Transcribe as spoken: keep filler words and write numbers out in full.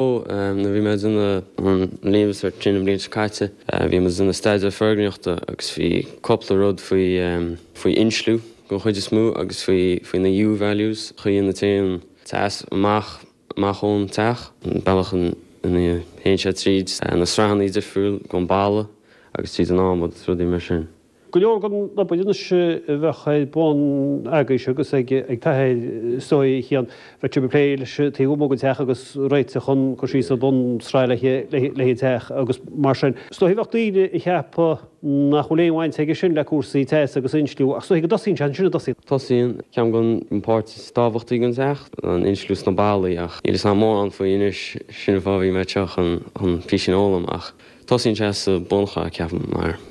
Nuair bhí mé ag déanamh an Leaving Cert sin an bhliain seo caite, bhí mé ag déanamh staidéar foirgníochta agus bhí cúpla rud faoi faoi insliú den chuid is mó agus faoi faoi na U values chaoi ina dtéann teas amach amach ón teach, an bealach ina théann sé tríd na sraitheanna difriúil den bhalla agus tríd an adhmad agus rudaí mar sin. Go leor den obair anois a bheadh ar bun agaibhse agus ag t'athair is dóigh a Chian, bheadh sibh ag plé leis an taobh amuigh den teach agus réiteach chun cur síos ar bhunsraith le an teach agus mar sin. Is dóigh bheadh daoine ag ceapadh nach bhfuil aon bhaint aige sin le cúrsaí teas agus insliú ach is dóigh go dtosaíonn sé ansin a dtosaíonn. Tosaíonn ceann den pháirt is tábhachtaí den teach, an insliú sna ballaí ach níl a fhios agam mórán faoi anois, sin an fáth a bhí mé anseo chun chun píosa a fhoghlaim ach tosaíonn sé sa bunshraith ceapaim mar